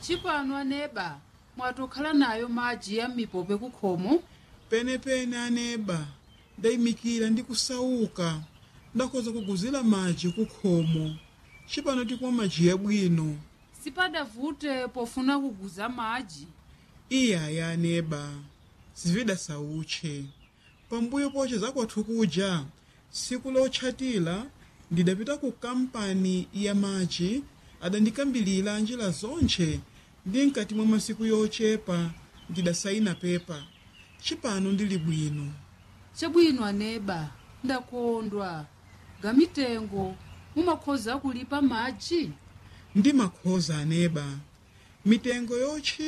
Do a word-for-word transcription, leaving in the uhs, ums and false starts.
Chipano aneba, mwatokhala nayo madzi ya m'mipope kukhomo. Penepene aneba, ndayimikira ndi kusauka, ndakhoza kuguzira madzi kukhomo. Cipano tikumwa madzi yabwino. Sipadavute pofuna kuguza madzi. Iyaya aneba, zividasauche. Pambuyo poche zakwathu kuja, tsiku lotchatira ndidapita ku kampani ya madzi, adandikambilira njira zontche ndi mkati mwa masiku yochepa ndidasayina pepa. Cipano ndili bwino. Chabwino aneba, ndakondwa. Gamitengo mumakhoza kulipa madzi? Ndimakhoza aneba. Mitengo yotchika